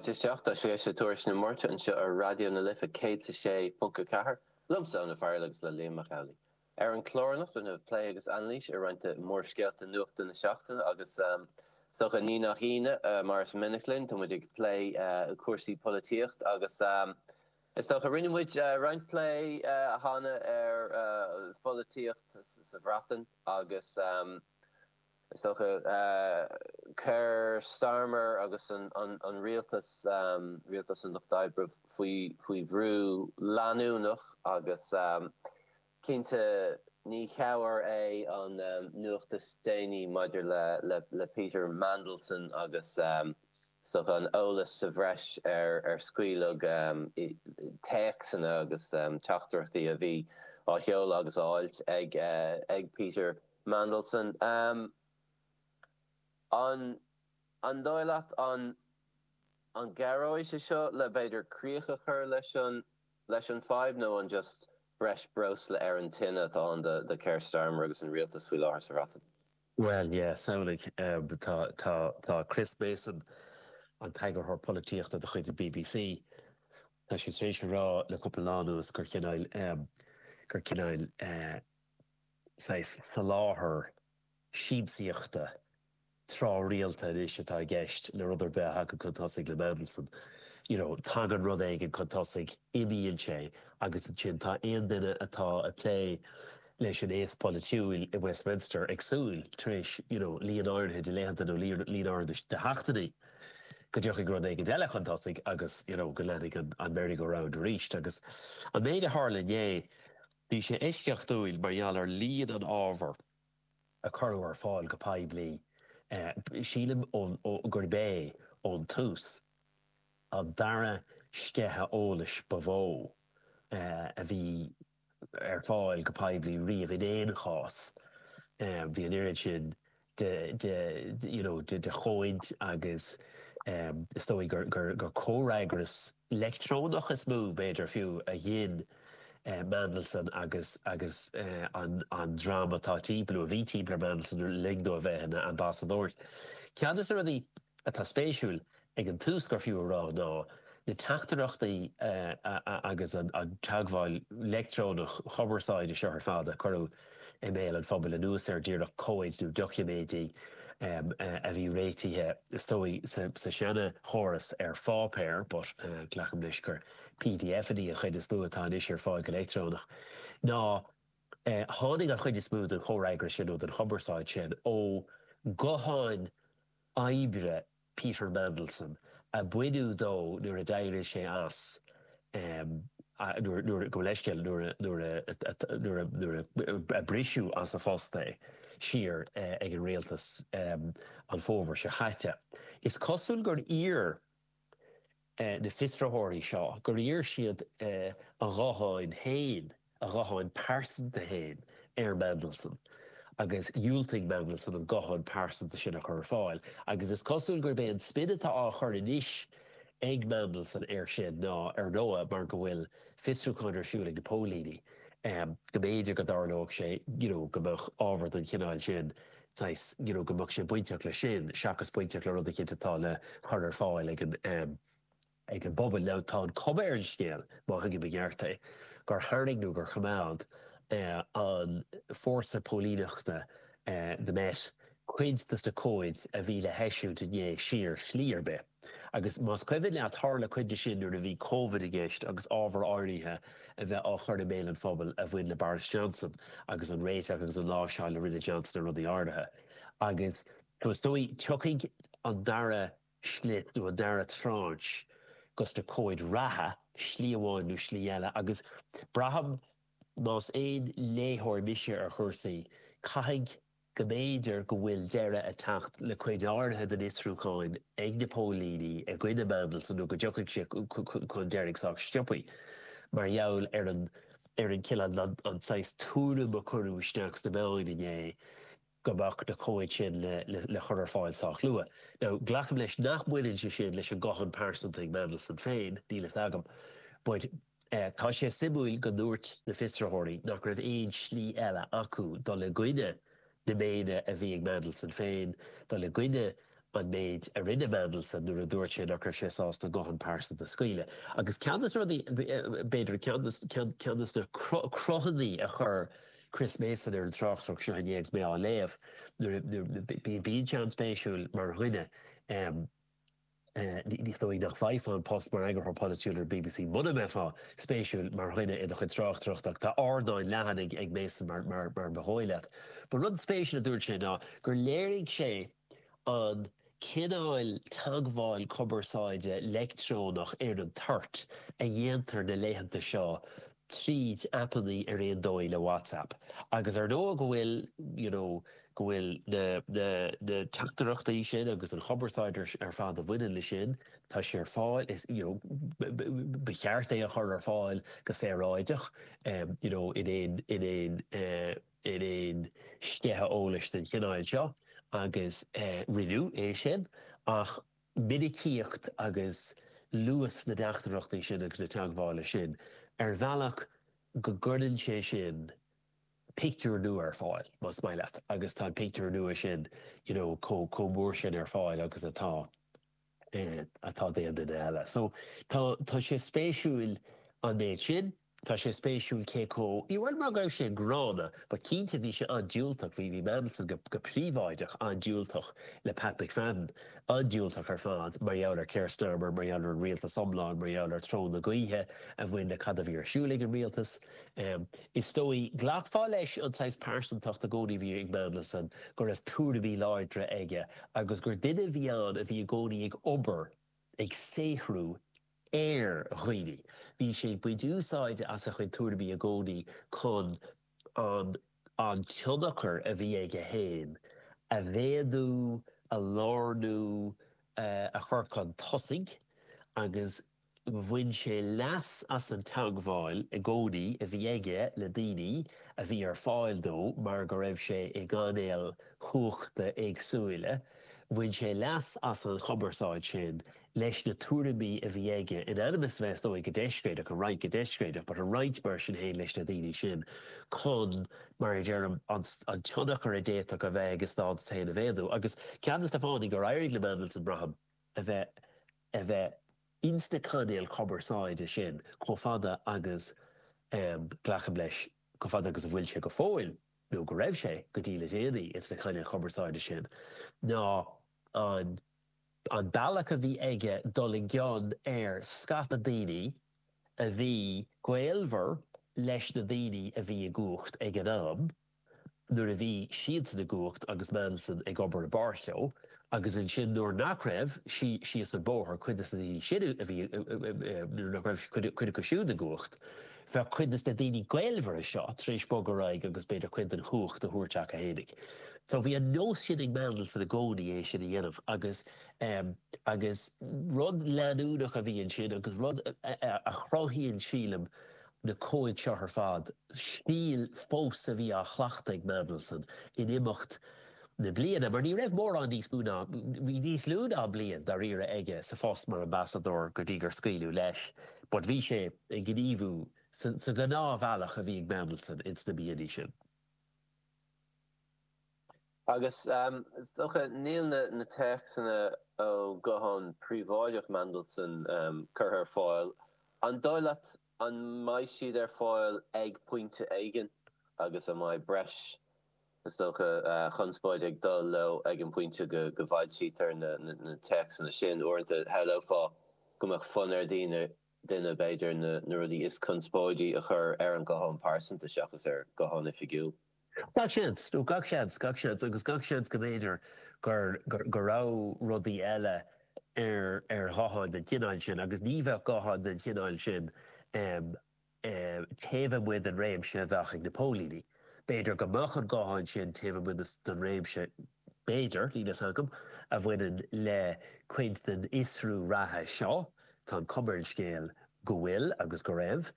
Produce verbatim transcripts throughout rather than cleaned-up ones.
Fáilte isteach, tá sé sa Tuairisc na Máirte anseo ar Raidió na Life céad a sé ponc a ceathair, liomsa Eoin Ó Fearghail agus le Liam Mac Amhlaigh. Ar an chlár anocht déanfaimid plé agus anailís ar roinnt de mhórscéalta nuachta na seachtaine agus is dócha ní nach ionadh, mar is minic linn, tá muid ag plé cúrsaí polaitíocht agus is dócha rinne muid roinnt plé cheana ar pholaitíocht sa Bhreatain agus is dócha Keir Starmer agus an rialtas, rialtas an Lucht Oibre faoi faoi bhrú leanúnach agus cinnte ní chabhair é an nuacht is déanaí maidir le le Peter Mandelson agus is dócha an eolas sa bhreis ar ar scaoileadh téacsanna agus teachtaireachtaí a bhí á sheoladh agus á fháilt ag ag Peter Mandelson. An an dóigh leat an an gcabhróidh sé seo le b'fhéidir críoch a chur leis an leis an fadhb nó an just breis breosla ar an tine atá ann do do Keir Starmer agus an rialtas faoi láthair sa Bhreatain? Bhuel, yeah, samhlaigh, tá tá tá Chris Mason, an t-eagarthóir polaitíochta de chuid an B B C, tá sé tar éis a rá le cúpla lá anuas gur cineál gur cineál saghas soláthar siamsaíochta tráthrialta anois atá i gceist le rud ar bith a thagann chun tosaigh le Mandelson. You know, tagann rud éigin chun tosaigh, imíonn sé agus ansin tá aon duine atá ag plé leis an aos polaitiúil i Westminster ag súil tar éis you know, líon áirithe de laethanta nó líon áirithe de sheachtainí go dtiocfaidh rud éigin eile chun tosaigh agus you know, go leanfaidh an, an merry-go-round arís. Agus an méid a tharla inné, bhí sé eisceachtúil mar gheall ar líon an ábhair a cuireadh ar fáil go poiblí. Sílim gurb é ón tús an dara sceitheadh eolais ba mhó a bhí ar fáil go poiblí riamh in aon chás. Bhí an oiread sin de de you know de de chomhaid agus is dóigh gur gur gur comhfhreagras leictreonach is mó b'fhéidir fiú a ghin Mandelson agus agus an an dream atá timpeall, a bhí timpeall ar Mandelson le linn dó a bheith ina ambasadóir. Ceann de na rudaí atá spéisiúil ag an tús gur fiú a rá ná na teachtaireachtaí agus an teagmháil leictreonach chumarsáide seo ar fad a cuireadh i mbéal an phobail anuas ar díreach comhaid nó doiciméidí a bhí réitithe is dóigh sa seana-chóras ar pháipéar, but glacaim leis gur P D F-anna an chuid is mó atá anois ar fáil go leictreonach, ná tháinig an chuid is mó den chomhfhreagras sin nó den chumarsáid sin ó ghutháin oibre Peter Mandelson a baineadh dó nuair a d'éirigh sé as, nuair go leithscéal, nuair nuair a briseadh as a phost é siar ag an rialtas an fómhar seo chaite. Is cosúil gur iarr na fiosraitheoirí seo gur iarr siad a ghutháin féin, a ghuthán pearsanta féin ar Mandelson agus dhiúltaigh Mandelson an guthán pearsanta sin a chur ar fáil. Agus is cosúil gurb é an spin atá á chur anois ag Mandelson air sin ná, ar ndóigh, mar go bhfuil fiosrúchán ar siúl ag na póilíní, go mb'fhéidir go dtarlódh sé you know go mbeadh ábhar den chineál sin saghas you know go mbeadh sé bainteach leis sin seachas bainteach le rud eicínt atá le cur ar fáil ag an ag an bpobal. Now tá an cuma ar an scéal, má thuigim i gceart é, gur tharraing nó gur choimeád an fórsa póilíneachta, the Met, cuid de na comhaid a bhí le heisiúint inné siar slí ar bith. Agus más cuimhin leat, tharla cuid de sin nuair a bhí Covid i gceist agus ábhar áirithe a bheith á chur i mbéal an phobail a bhain le Boris Johnson agus an réiteach agus an láimhseáil a rinne Johnson ar rudaí áirithe. Agus is dóigh tiocfaidh an dara slit nó an dara tranche dos na comhaid reatha, slí amháin nó slí eile, agus braithim, más aon léitheoir mise ar chúrsaí, caithfidh go mb'fhéidir go bhfuil deireadh ag teacht le cuid áirithe den fhiosrúchán ag na póilíní i gcoinne Mandelson nó go dtiocfaidh sé chun deiridh sách sciobtha mar gheall ar an ar an cineál an saghas tuairim a cuireadh isteach sna meáin inné go mbeadh na comhaid sin le le chur ar fáil sách luath. Now, glacaim leis nach mbaineann sé sin leis an guthán pearsanta ag Mandelson féin, níl fhios agam, but tá sé suimiúil go ndúirt na fiosraitheoirí nach raibh aon slí eile acu dul i gcoinne na méine a bhí ag Mandelson féin, dul i gcoinne an méid a rinne Mandelson nuair a dúirt sé nach raibh sé sásta guthán pearsanta a scaoileadh. Agus ceann de na rudaí, b'fhéidir, ceann de na cruthanna a chuir Chris Mason ar an tráchtaireacht seo inné agus mé á léamh, nuair a bíonn sé an-spéisiúil mar dhuine, Ní dóigh nach bhfaighfeá an post mar eagarthóir polaitiúil ar BBC muna mbeifeá spéisiúil mar dhuine i do chuid tráchtaireachta ach tá ardán leathan ag Mason mar ba dhóigh leat. But rud spéisiúil a dúirt sé ná gur léirigh sé an cineál teagmháil cumarsáide leictreonach ar an toirt a dhéantar na laethanta seo tríd aipeanna ar aon dóigh le WhatsApp agus ar ndóigh go bhfuil you know go bhfuil na na na teachtaireachtaí sin agus an chumarsáid ar ar fad a bhaineann le sin tá sé ar fáil is you know ba cheart é a chur ar fáil go saoráideach um you know in aon in aon uh, in aon sceitheadh eolais den chineál seo agus uh, rinneadh é sin ach minicíocht agus luas na dteachtaireachtaí sin agus na teagmhála sin, ar bhealach go gcuireann sé sin pictiúr nua ar fáil, más maith leat, agus tá an pictiúr nua sin you know chomh chomh mór sin ar fáil agus atá eh atá d'aon duine eile. So tá tá sé spéisiúil an méid sin. Tá sé spéisiúil cé chomh, bhuel mar go raibh sé gránna, but cinnte bhí sé an-diúltach, bhí, bhí Mandelson go, go príobháideach an-diúltach le Pat McFadden, an-diúltach ar fad mar gheall ar Keir Starmer, mar gheall ar an rialtas iomlán, mar gheall ar treo na gaoithe a bhain le cad a bhí ar siúl ag an rialtas. Is dóigh, ghlacfá leis an saghas pearsantacht i gcónaí a bhí ag Mandelson, go raibh tuairimí láidre aige agus gur duine a bhí ann a bhí i gcónaí ag obair, ag saothrú ar dhaoine. Bhí sé ag baint úsáide as a chuid tuairimí i gcónaí chun an an tionchar a bhí aige féin a mhéadú, a lárnú, a chur chun tosaigh agus bhain sé leas as an teagmháil i gcónaí a bhí aige le daoine a bhí ar fáil dó mar go raibh sé i gcainéil chumhachta éagsúla. Bhain sé leas as an chumarsáid sin leis na tuairimí a bhí aige, in ainm is a bheith, is dóigh, go deisbhéalach, an roinnt go deisbhéalach, but a roinnt mar sin féin leis na daoine sin chun, mar a deirim, an tionchar a d'fhéadfadh a bheith ag a stádas féin a mhéadú. Agus ceann de na fáthanna gur éirigh le Mandelson, braithim, a bheith a bheith ins na cainéil chumarsáide sin chomh fada agus, glacaim leis, chomh fada agus a bhfuil sé go fóill, nó go raibh sé go dtí le déanaí ins na cainéil chumarsáide sin, ná an an bealach a bhí aige dul i gcion ar scata daoine a bhí gaolmhar leis na daoine a bhí i gcumhacht ag an am, nuair a bhí siadsan i gcumhacht agus Mandelson ag obair i bpáirt leo, agus ansin nuair nach raibh, síos an bóthar, cuid de na daoine sin a bhí, nuair nach raibh cuid acu siúd i gcumhacht, bheadh cuid de na daoine gaolmhara seo tar éis bogadh ar aghaidh agus b'fhéidir cuid den chumhacht a thabhairt acu fhéinig. So bhí an nós sin ag Mandelson i gcónaí é sin a dhéanamh agus agus rud leanúnach a bhí ansin agus rud a chruthaíonn sílim na comhaid seo ar fad, stíl fós a bhí á chleachtadh ag Mandelson in imeacht na bliana, mar ní raibh mórán níos mó ná, bhí níos lú ná bliain dáiríre aige sa phost mar ambasadóir go dtí gur scaoileadh leis, but bhí sé ag gníomhú sa ghnáthbhealach a bhí ag Mandelson ins na míonna sin. Agus is dócha, níl na téacsanna ó ghuthán príobháideach Mandelson curtha ar fáil. An dóigh leat an mbeidh siad ar fáil ag pointe éigin agus an mbeidh breis, is dócha, conspóide ag dul leo ag an bpointe go bhfoilsítear na téacsanna sin? Uaireanta shamhlófá go mbeadh fonn ar dhaoine, duine, b'fhéidir, na rudaí is conspóidí a chur ar an nguthán pearsanta seachas ar ghuthán oifigiúil. Gach seans, nó gach seans, gach seans, agus gach seans go mb'fhéidir gur, go raibh rudaí eile ar, ar ghutháin den chineál sin, agus ní bheadh guthán den chineál sin taobh amuigh den réimse a bheadh ag na póilíní. B'fhéidir go mbeadh an guthán sin taobh amuigh den réimse, b'fhéidir, níl fhios agam, a bhaineann le cuid den fhiosrú reatha seo, tá an chuma ar an scéal go bhfuil agus go raibh,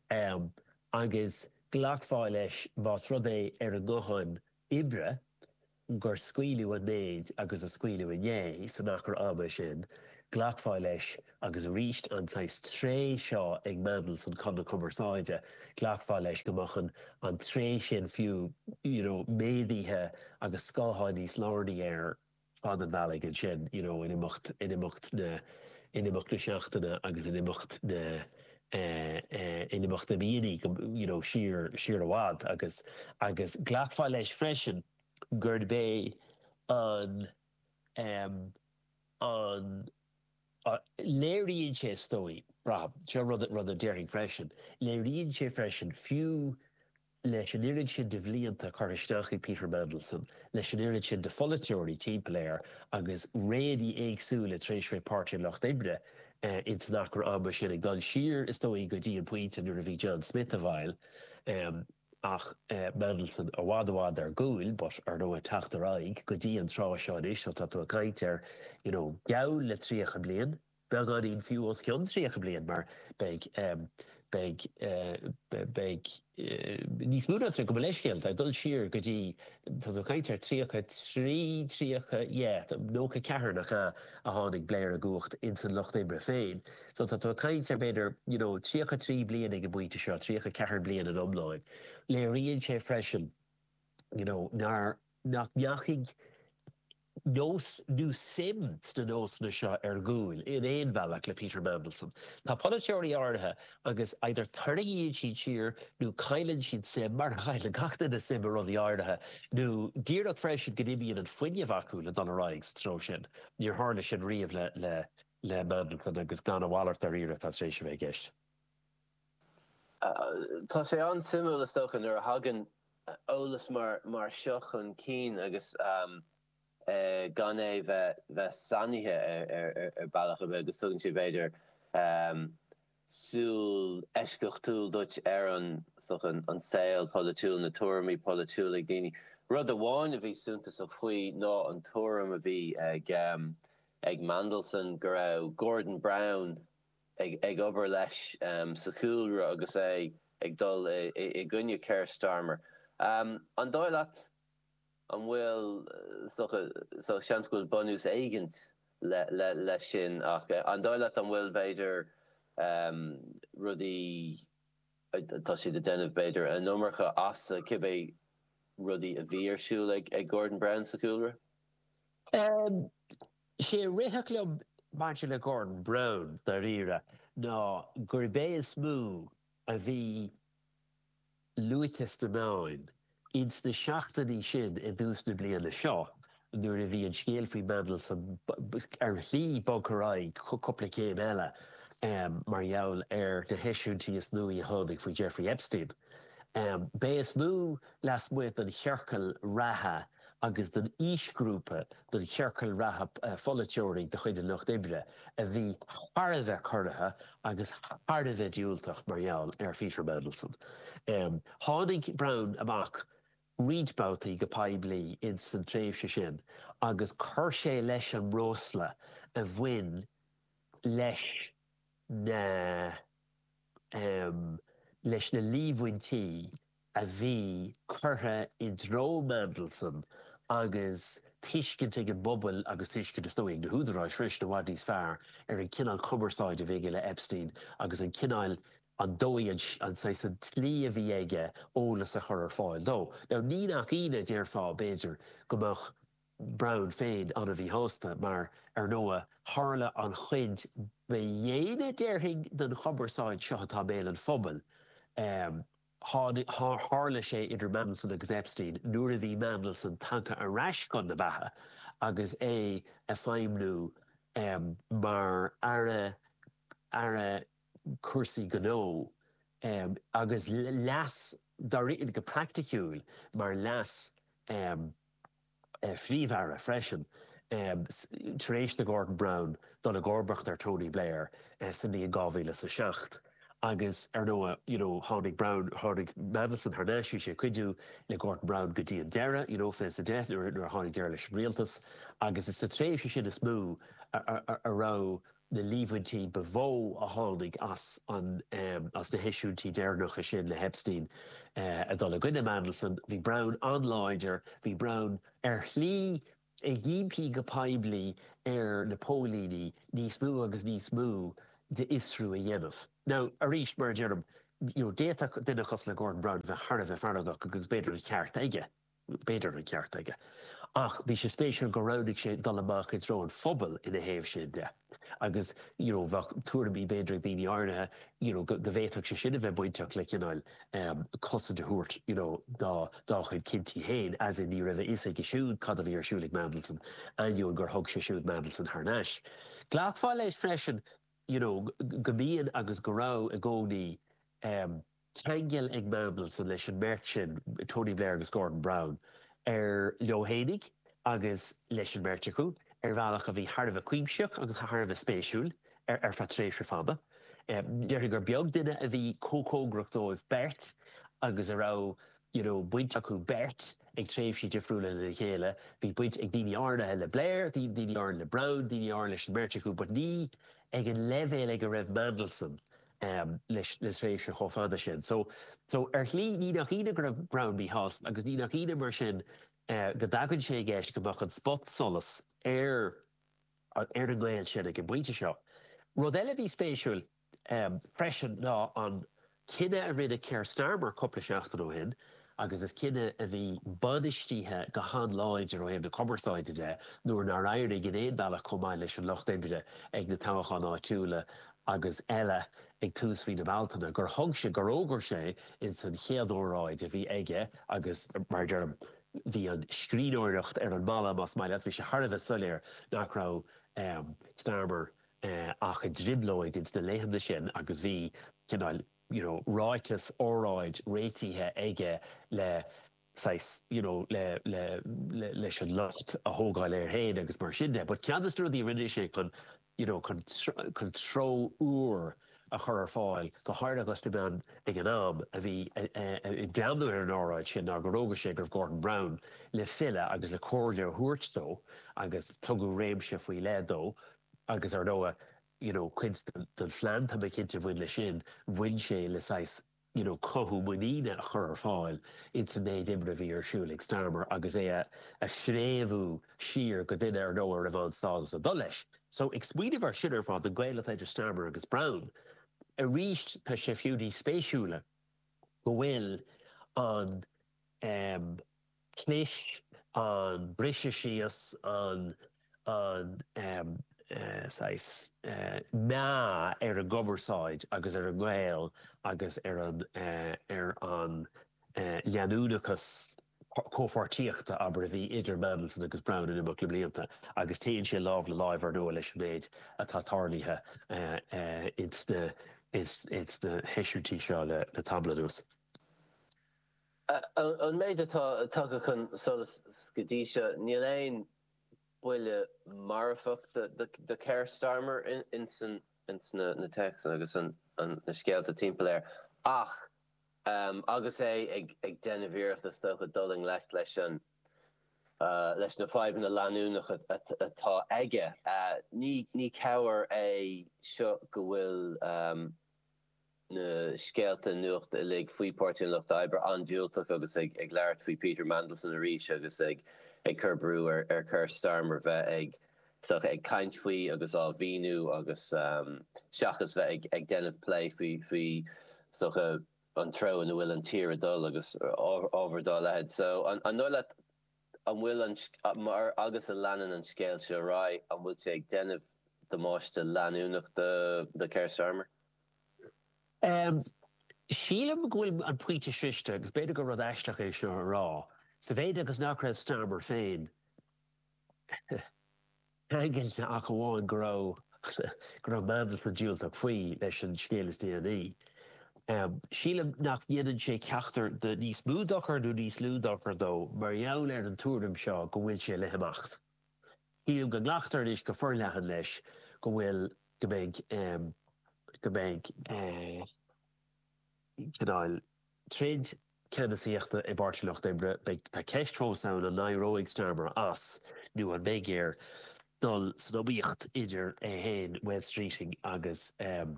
agus ghlacfá leis más rud é ar an nguthán oibre gur scaoileadh an méid agus a scaoileadh inné san achar ama sin, ghlacfá leis, agus arís an saghas tréith seo ag Mandelson chun na cumarsáide, ghlacfá leis go mbeadh an an tréith sin fiú you know méadaithe agus scáthán níos lárnaí air fad an bhealaigh ansin, you know, in imeacht, in imeacht na, in imeacht na seachtaine agus in imeacht na, eh, eh, in imeacht na míonna, you know, siar, siar i bhfad agus, agus glacfá leis freisin gurb é an, em, an, léiríonn sé is dóigh, braithim, seo rud, rud a déarfainn freisin, léiríonn sé freisin fiú leis an oiread sin de bhlianta curtha isteach ag Peter Mandelson, leis an oiread sin de pholaiteoirí timpeall air agus réanna éagsúla tar éis bheith Páirtí an Lucht Oibre ins an achar ama sin, ag dul siar is dóigh go dtí an pointe nuair a bhí John Smith i bhfeighil ach Mandelson i bhfad i bhfad ar gcúl but ar ndóigh teacht ar aghaidh go dtí an tráth seo anois so tá tú ag caint ar you know geall le tríocha bliain. Beagáinín fiú os cionn tríocha bliain mar beidh beidh beidh níos mó ná tríocha, gabh mo leithscéal, ag dul siar go dtí, tá tú ag caint ar tríocha trí, tríocha, yeah, nócha ceathair nach ea a tháinig Blair i gcumhacht ins an Lucht Oibre féin. So tá tú ag caint ar b'fhéidir, you know, tríocha trí bliain ag an bpointe seo, tríocha ceathair bliain in iomlán. Léiríonn sé freisin, you know, nár, nach ndeachaigh nós nó suim sna nósanna seo ar gcúl in aon bhealach le Peter Mandelson. Tá polaiteoirí áirithe agus either tarraingíonn siad siar nó cailleann siad suim, mar a chailleann gach duine suim i rudaí áirithe, nó díreach freisin go n-imíonn an fuinneamh acu le dul ar aghaidh sa treo sin. Níor tharla sin riamh le le le Mandelson agus gan a mhalairt dáiríre atá tar éis a bheith i gceist. Tá sé an-suimiúil is dócha nuair a thagann eolas mar mar seo chun cinn agus gan é bheith bheith sainithe ar ar bealach ar bith agus tugann sé b'fhéidir súil eisceachtúil duit ar an an saol polaitiúil, na tuairimí polaitiúla ag daoine. Rud amháin a bhí suntasach faoi ná an tuairim a bhí ag ag Mandelson go raibh Gordon Brown ag ag obair leis sa chúlra agus é ag dul i gcoinne Keir Starmer. An dóigh leat an bhfuil, is dócha, so seans go bhfuil bunús éigint le le leis sin ach an dóigh leat an bhfuil b'fhéidir rudaí, tá siad ag déanamh b'fhéidir an iomarca as cibé rudaí a bhí ar siúl ag ag Gordon Brown sa chúlra? Sé a rithfeadh liom maidir le Gordon Brown, dáiríre, ná gurb é is mó a bhí luaite sna meáin ins na seachtainí sin i dtús na bliana seo nuair a bhí an scéal faoi Mandelson ar shlí bogtha ar aghaidh cúpla céim eile mar gheall ar na heisiúintí is nuaí a tháinig faoi Jeffrey Epstein. B'é is mó lasmuigh den chiorcal reatha agus den aoisghrúpa den chiorcal reatha pholaiteoirí de chuid an Lucht Oibre a bhí thar a bheith corraithe agus thar a bheith diúltach mar gheall ar Pheter Mandelson. Tháinig Brown amach roinnt babhtaí go poiblí ins an tréimhse sin agus chuir sé leis an mbreosla a bhain leis na leis na líomhaintí a bhí curtha i dtreo Mandelson agus tuiscint ag an bpobal agus tuiscint is dóigh ag na húdaráis freisin i bhfad níos fearr ar an chineál cumarsáide a bhí aige le Epstein agus an cineál, an dóigh, an saghas, an tslí a bhí aige eolas a chur ar fáil dó. Now ní nach ionadh, déarfá, b'fhéidir, go mbeadh Brown féin an-mhíshásta mar, ar ndóigh, tharla an chuid ba dhéine, déarfainn, den chumarsáid seo atá i mbéal an phobail. Tharla sé idir Mandelson agus Epstein nuair a bhí Mandelson tagtha ar ais chun na beatha agus é ag feidhmiú mar Aire Aire Cúrsaí Gnó agus leas, go praiticiúil, mar leas Phríomh-Aire freisin, tar éis do Gordon Brown dul i gcomharbacht ar Tony Blair sa mbliain dhá mhíle is a seacht. Agus, ar ndóigh, you know, tháinig Brown, tháinig Mandelson thar n-ais, bhí sé ag cuidiú le Gordon Brown go dtí an deireadh, you know, fiche is a deich, nuair a tháinig deireadh leis an rialtas. Agus is sa tréimhse sin is mó a raibh na líomhaintí ba mhó a tháinig as an as na heisiúintí deireanacha sin le hEpstein ag dul i gcoinne Mandelson. Bhí Brown an-láidir, bhí Brown ar shlí ag impí go poiblí ar na póilíní níos mó agus níos mó d'fhiosrú a dhéanamh. Now, arís, mar a deirim, you know, d'fhéadfadh duine cosúil le Gordon Brown a bheith thar a bheith feargach agus b'fhéidir an ceart aige. B'fhéidir an ceart aige. Ach bhí sé spéisiúil gur roghnaigh sé dul amach i dtreo an phobail ina thaobh sin de. Agus you know, bheadh tuairimí b'fhéidir ag daoine áirithe you know, go bhféadfadh sé sin a bheith bainteach le cineál um, cosaint a thabhairt you know, dá dá chuid cinntí féin, as in ní raibh a fhios aige siúd cad a bhí ar siúl ag Mandelson, ainneoin gur thug sé siúd Mandelson thar n-ais. Ghlacfá leis freisin you know, go mbíonn agus go raibh i gcónaí um, ceangal ag Mandelson leis an mbeirt sin, Tony Blair agus Gordon Brown, ar leo fhéinig agus leis an mbeirt acu, ar bhealach a bhí thar a bheith cuimsitheach agus thar a bheith spéisiúil ar ar feadh tréimhse fada. Déarfainn gur beag duine a bhí chomh cóngarach dóibh beirt agus a raibh you know, baint acu beirt ag tréimhsí difriúla lena chéile. Bhí baint ag daoine áirithe le Blair, daoine áirithe le Brown, daoine áirithe leis an mbeirt acu, but ní ag an leibhéal ag a raibh Mandelson um, leis le tréimhse chomh fada sin. So, so ar shlí ní nach ionadh go raibh Brown míshásta agus ní nach ionadh mar sin uh, go dtagann sé i gceist go mbeadh an spotsolas ar ar an ngaol sin ag an bpointe seo. Rud eile bhí spéisiúil um, freisin ná an cinneadh a rinne Keir Starmer cúpla seachtain ó shin, agus is cinneadh a bhí bainistithe go han-láidir ó thaobh na cumarsáide de nuair nár éirigh in aon bhealach chomh maith leis an Lucht Oibre ag na toghcháin áitiúla agus eile ag tús mhí na Bealtaine, gur thug sé gur fhógair sé ins an chéad óráid a bhí aige agus mar deirim bhí an scríbhneoireacht ar an mballa más maith leat, bhí sé thar a bheith soiléir nach raibh um, Starmer uh, ach i dtrioblóid ins na laethanta sin agus bhí cineál you know, ráiteas óráid réitithe aige le saghas you know, le, le, le, leis an lucht a thógáil air féin agus mar sin de. But ceann de na rudaí rinne sé chun you know, chun, chun treo úr a chur ar fáil go háirithe agus na meáin ag an am a bhí ag breathnú ar an óráid sin ná gur fhógair sé go raibh Gordon Brown le filleadh agus le comhairle a thabhairt dó agus tugadh réimse faoi leith dó agus ar ndóigh you know, cuid den phlean tá mé cinnte bhain leis sin bhain sé le saghas you know, cothú muiníne a chur ar fáil ins an méid oibre a bhí ar siúl ag Starmer agus é a, a fréamhú siar go duine ar ndóigh a raibh an stádas ag dul leis. So ag smaoineamh air sin ar fad an gaol atá idir Starmer agus Brown. Arís tá sé fiú níos spéisiúla go bhfuil an um, clis an briseadh síos an an um, uh, saghas uh, meath ar an gcumarsáid agus ar an ngaol agus ar an uh, ar an uh, leanúnachas comhpháirtíochta abair a bhí idir Mandelson agus Brown in imeacht na mblianta agus téann sé lámh le láimh ar ndóigh leis an méid atá tarlaithe uh, uh, ins na ins na heisiúintí seo le le tamall anuas. An méid atá tagtha chun solais go dtí seo níl aon buille marfach do Keir Starmer ins ins na na téacsanna agus an na scéalta timpeall air ach um, agus é ag ag déanamh iarracht is dócha dul i ngleic leis an uh, leis na fadhbanna leanúnacha atá aige. Uh, ní ní cabhair é seo go bhfuil um, na scéalta nuachta uilig faoi Pháirtí an Lucht Oibre an-diúltach agus ag ag labhairt faoi Peter Mandelson arís agus ag ag cur brú ar ar Keir Starmer bheith ag so ag caint faoi agus á mhíniú agus um, seachas bheith ag, ag déanamh plé faoi faoi so an treo ina bhfuil an tír ag dul agus ábhar dá leithéid. So an an dóigh leat an bhfuil an mar agus a leanann an scéal seo ar aghaidh an bhfuil sé ag déanamh damáiste leanúnach do do Keir Starmer? Um, Sílim go bhfuil an pointe sroichte agus b'fhéidir gur rud aisteach é seo a rá. Sa mhéid agus nach raibh Starmer féin ceangailte ach amháin go raibh go raibh Mandelson diúltach faoi leis an scéal is déanaí. Um, sílim nach ndéanann sé ceachtar de níos mó dochar nó níos lú dochar dó mar gheall ar an tuairim seo go bhfuil sé le himeacht. Sílim go nglactar anois go forleathan leis go bhfuil go mbeidh um, go mbeidh uh, cineál troid ceannasaíochta i bPáirtí an Lucht Oibre beidh tá ceist fós ann an n-éireoidh Starmer as nó an mbeidh air dul san iomaíocht idir é féin Wes Streeting agus um,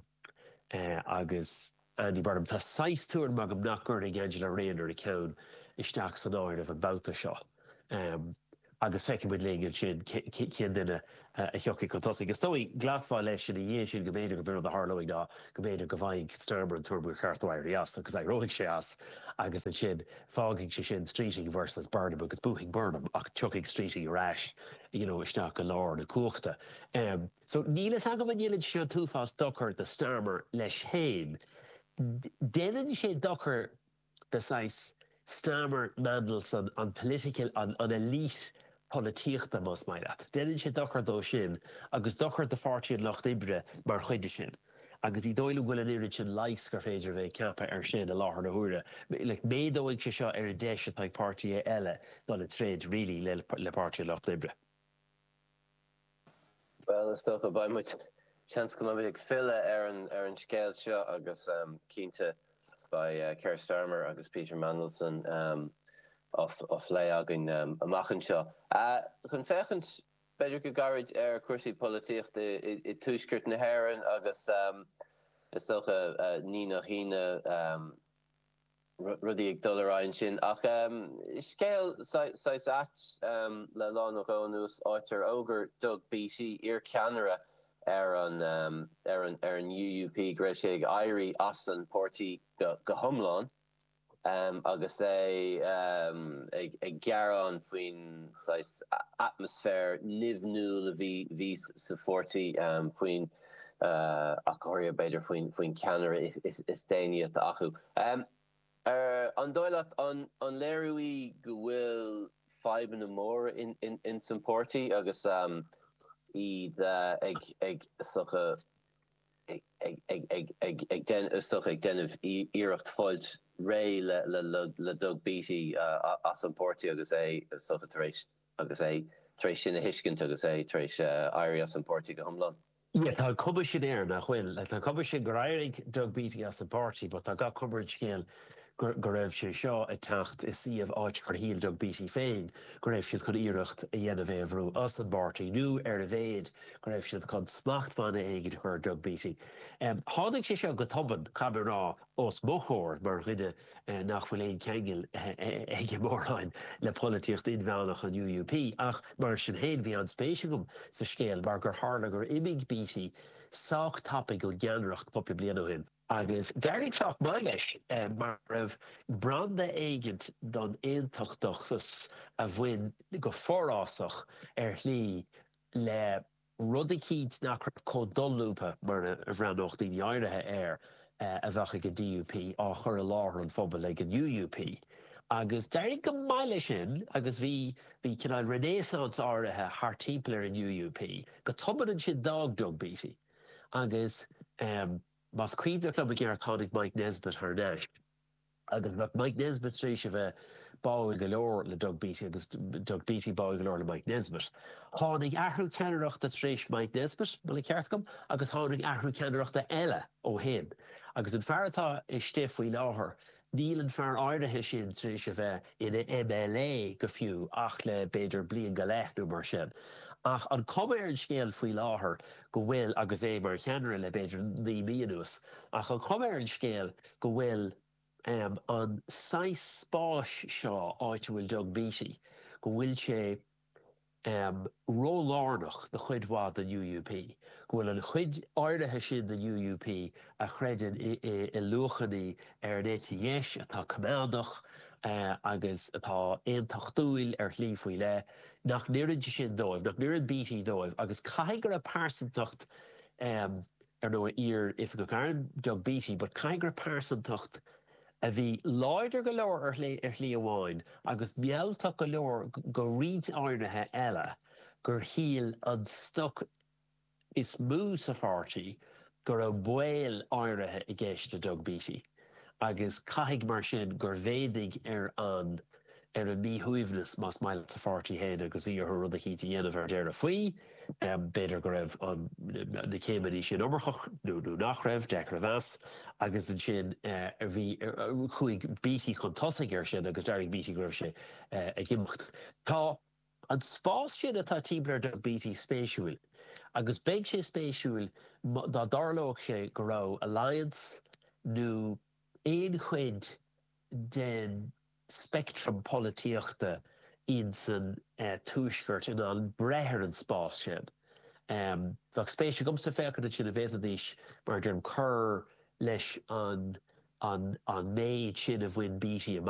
uh, agus Andy Burnham. Tá saghas tuairim agam nach gcuirfidh Angela Rayner a ceann isteach san áireamh an babhta seo. Um, agus feicfidh muid linn ansin cén duine a thiocfaidh chun tosaigh. Is dóigh, glacfá leis ina dhiaidh sin go mb'fhéidir go b'in rud a tharlóidh ná go mb'fhéidir go bhfaighidh Starmer an tuairim gur cheart dó éirí as agus éireoidh sé as agus ansin fágfaidh sé sin Streeting versus Burnham agus buafaidh Burnham ach tiocfaidh Streeting ar ais you know isteach go lár na cumhachta. So níl fhios agam an ndéanann sé an t-uafás dochar do Starmer leis féin. Déanann sé dochar do saghas Starmer, Mandelson, an political, an an elite polaitíochta más maith leat. Déanann sé dochar dó sin agus dochar do Pháirtí an Lucht Oibre mar chuid de sin. Agus ní dóigh liom go bhfuil an oiread sin leighis gur féidir a bheith ag ceapadh air sin i láthair na huaire. Like, méadóidh sé seo ar an deis atá ag páirtithe eile dul ag troid really le le Páirtí an Lucht Oibre. Bhuel, is dócha, beidh muid, seans go mbeidh muid ag filleadh ar an ar an scéal seo agus cinnte beidh Keir Starmer agus Peter Mandelson á phlé againn amach anseo. Chun féachaint, b'fhéidir go gairid, ar chúrsaí polaitíochta i dtuaisceart na hÉireann agus is dócha ní nach ionadh, rudaí ag dul ar aghaidh ansin. Ach scéal saghas ait le lá nó dhó anuas, áit ar fhógair Doug Beattie, iarcheannaire ar an ar an ar an UUP, go raibh sé ag éirí as an bpáirtí go hiomlán agus é ag ag gearán faoin saghas atmaisféar nimhniúil a bhí bhí sa pháirtí, faoin ach go háirithe b'fhéidir faoin faoin cheannaire is is déanaí atá acu. An dóigh leat an léiriú í go bhfuil fadhbanna móra ins an páirtí agus iad ag ag is dócha ag ag ag ag ag is dócha ag déanamh iarracht fáilt réidh le le le Doug Beattie as an páirtí agus é is dócha tar éis agus é tar éis sin a thuiscint agus é tar éis éirí as an páirtí go hiomlán? Yeah, tá an cuma sin air, nach bhfuil? Like, tá an cuma sin gur éirigh Doug Beattie as an bpáirtí, but tá gach cuma ar an scéal go, go raibh sé seo ag teacht i suíomh áit gur shíl Doug Beattie féin go raibh siad chun iarracht a dhéanamh é a bhrú as an bpáirtí, nó ar a mhéad go raibh siad chun smachtbhanna éigin a chur ar Doug Beattie. Um, tháinig sé seo go tobann, caithfidh mé a rá, os mo chomhair, mar dhuine nach bhfuil aon cheangal aige mórán le polaitíocht inmheánach an UUP, ach mar sin féin bhí an-spéis agam sa scéal mar gur tharla gur imigh Beattie sách tapaidh ón gceannaireacht cúpla bliain ó shin. Agus d'éirigh sách maith leis mar go raibh branda éigint don aontachtachas a bhain go forásach ar shlí le rud eicínt nach raibh chomh dolúbtha mar a bhreathnódh daoine áirithe air a bheadh ag an DUP á chur i láthair an phobail ag an UUP. Agus d'éirigh go maith leis sin agus bhí bhí cineál renaissance áirithe thart timpeall ar an UUP. Go tobann ansin d'fhág Doug Beattie agus más cuimhneach liom i gceart tháinig Mike Nesbitt thar n-ais. Agus bheadh Mike Nesbitt tar éis a bheith báúil go leor le Doug Beattie agus Doug Beattie báúil go leor le Mike Nesbitt. Tháinig athrú ceannaireachta tar éis Mike Nesbitt, an bhfuil an ceart agam, agus tháinig athrú ceannaireachta eile ó shin. Agus an fear atá istigh faoi láthair, níl an fear áirithe sin tar éis a bheith ina MLA go fiú ach le b'fhéidir bliain go leith nó mar sin. Ach an cuma ar an scéal faoi láthair go bhfuil, agus é mar cheannaire le b'fhéidir naoi mí anuas, ach an chuma ar an scéal go bhfuil an saghas spáis seo áit a bhfuil Doug Beattie, go bhfuil sé rólárnach do chuid mhaith den UUP, go bhfuil an chuid áirithe sin den UUP a chreideann i luachanna ar an eite dheis atá coimeádach agus atá aontachtúil ar shlí faoi leith, nach n-oireann sé sin dóibh, nach n-oireann Beattie dóibh agus caithfidh go raibh pearsantacht, ar ndóigh, iar-oifigeach airm Doug Beattie, but caithfidh go raibh pearsantacht a bhí láidir go leor ar shlí amháin agus mealltach go leor go roinnt áirithe eile gur shíl an stoc is mó sa pháirtí go raibh baol áirithe i gceist le Doug Beattie agus caithfidh mar sin gur mhéadaigh ar an ar an míshuaimhneas, más maith leat, sa pháirtí féin agus bhí orthu rud eicínt a dhéanamh ar deireadh faoi. B'fhéidir go raibh an na céimeanna sin iomarcach nó nó nach raibh, deacair a mheas. Agus ansin bhí chuaigh Beattie chun tosaigh air sin agus d'éirigh Beattie go raibh sé ag imeacht. Tá an spás sin atá timpeall ar Doug Beattie spéisiúil agus beidh sé spéisiúil dá dtarlódh sé go raibh Alliance nó aon chuid den speictream polaitíochta insan eh, tuaisceart in ann breith ar an spás sin. Um, Bheadh spéis agamsa féachaint sin an bhféadfaidís mar a deirim cur leis an an an méid sin a bhain Beattie amach.